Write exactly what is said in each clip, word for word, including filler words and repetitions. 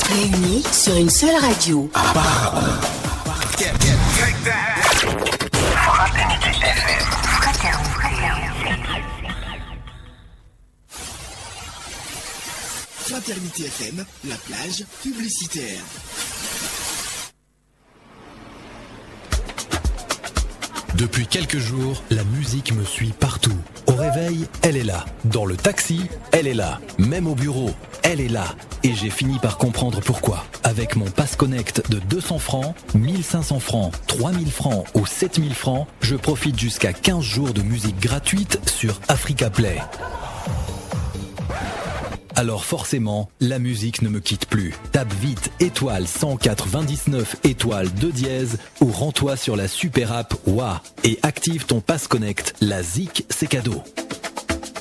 Réunis sur une seule radio. Fraternité F M, la plage publicitaire. Depuis quelques jours, la musique me suit partout. Au réveil, elle est là. Dans le taxi, elle est là. Même au bureau, elle est là. Et j'ai fini par comprendre pourquoi. Avec mon Pass Connect de deux cents francs, mille cinq cents francs, trois mille francs ou sept mille francs, je profite jusqu'à quinze jours de musique gratuite sur Africa Play. Alors forcément, la musique ne me quitte plus. Tape vite étoile cent quatre-vingt-dix-neuf étoile deux dièse ou rends-toi sur la super app Wa et active ton Pass Connect. La zik, c'est cadeau.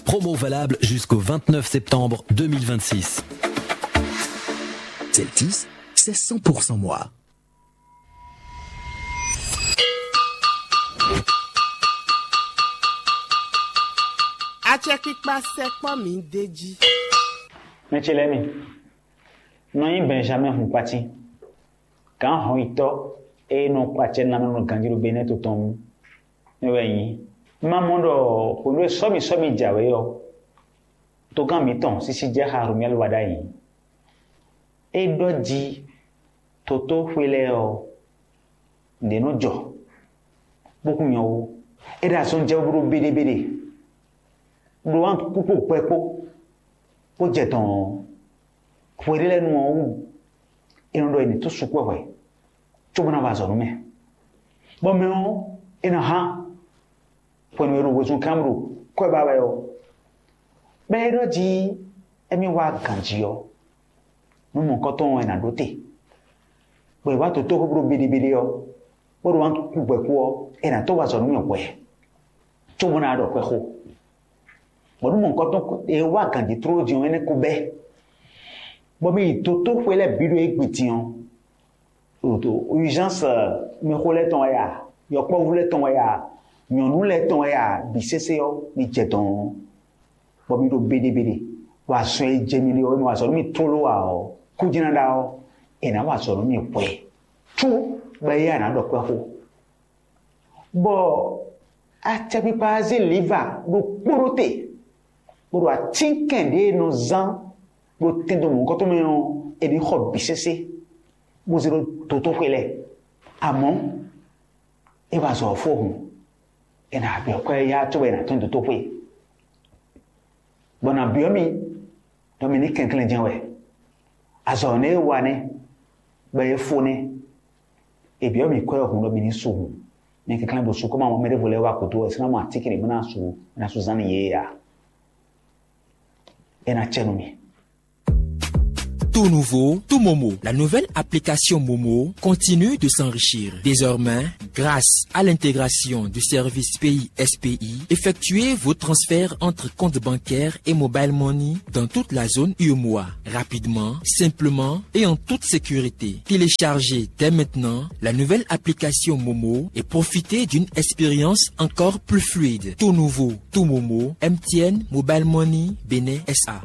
Promo valable jusqu'au vingt-neuf septembre deux mille vingt-six. Celtis, c'est cent pour cent moi. Acɛkpikpa sɛkpɔ́ mi d'é jí. Mɛ ce lɛ́ɛ mi, nɔ nyí Benjamin Hunkpati, gǎn hɔnyitɔ́ e nɔ kpa acɛ nú mɛ ɖo ganjí ɖo Benɛ́ɛ to tɔn mɛ wɛ nyí. Ma mɔ ɖɔ hwenu e sɔ́mi sɔ́mi jɛ awě ɔ́, togán mǐtɔn sísí jɛ xá Romuɛ́li wá ɖ'ayǐ. É ɖɔ jí totóxwe lɛ́ɛ ɔ́, nǔɖé nɔ jɔ, bó kún nyɔ ó. É ɖo azɔn jɛ bó ɖo béɖébeɖé, ɖo wǎn kú kpó hwɛ kpó, bó jɛ dɔ̌n ɔ́, hwe ɖé lɛ́ɛ nu ɔ́ wú, è nɔ ɖɔ è nǐ tó sukú hwɛ, cóbó ná wa azɔ̌ nú mɛ. Bɔ mɛ ɔ́, è nɔ hán hwenu e ɖo wezun kán ɖo kwɛ́ ba wɛ ɔ́, bɔ é ɖɔ jí émí wá ganjí ɔ́, nú mɔ̌hunkɔtɔn ɔ́ è nǎ ɖó te. Bɔ è wá dotóxwé bó ɖo béɖébeɖé ɔ́, bó ɖo wǎn kú gbɛ̌ kú ɔ́, è nǎ tó wa azɔ̌ nú mì hwɛ, cóbó ná ɖɔ xwɛxó. Bɔ nú mɔ̌hunkɔtɔn e wá ganjí tlóló din ɔ́, énɛ́ ko bɛ́, bɔ mì yi dotóxwé lɛ́ɛ bǐ ɖo égbé din ɔ́, ɖo urgence mɛxó lɛ́ɛ tɔn wɛ a, yɔkpɔ́vú lɛ́ɛ tɔn wɛ a, nyɔ̌nu lɛ́ɛ tɔn wɛ a, bǐ sésé ɔ́, mi jɛ dɔ̌n, bɔ mi ɖo béɖébeɖé, bɔ azɔn e jɛ mi ɖe ɔ́, mi wa azɔ̌ nú mi tlóló ǎ ɔ́, kú jɛ́n ná ɖa ɔ́, è nǎ wa azɔ̌ nú mi hwɛ, cú bɔ éyɛ́ a nǎ ɖɔ kwɛ́ xó. Bɔ acɛkpikpa ɔ́ zé lǐva ɖokpó ɖó te, bó ɖo atínkɛn ɖě e nɔ zán ɖo tɛndo mɔ̌hunkɔtɔn mɛ ɔ́, è nǐ xɔ bǐ sésé, bó zé ɖó dotóxwé lɛ́ɛ. Amɔ̌, é wá zɔ ɔ́ fó hǔn, è nǎ byɔ́ kwɛ́ yá cóbɔ è nǎ tɔ́n dotóxwé, bɔ è nǎ byɔ́ mì ɖɔ mi ní kɛnklɛ́n jɛ́n wɛ. Azɔ̌ nɛ́ e wa nɛ́, bɔ é fó nɛ́. È byɔ́ mì kwɛ́ ɔ́ hǔn ɖɔ mi ní su hǔn. Mi kɛnklɛ́n bo su, kɔ́ ma mɔ mɛ ɖěvo lɛ́ɛ wá gǔdo wɛ, é sɔ́ ná mɔ atínkɛn ɖě bó ná su, bó ná su zán nú yě ǎ. É ná cɛ nú mi. Tout nouveau, tout Momo. La nouvelle application Momo continue de s'enrichir. Désormais, grâce à l'intégration du service Pays S P I, effectuez vos transferts entre comptes bancaires et mobile money dans toute la zone U M O A, rapidement, simplement et en toute sécurité. Téléchargez dès maintenant la nouvelle application Momo et profitez d'une expérience encore plus fluide. Tout nouveau, tout Momo, M T N Mobile Money Bénin S A.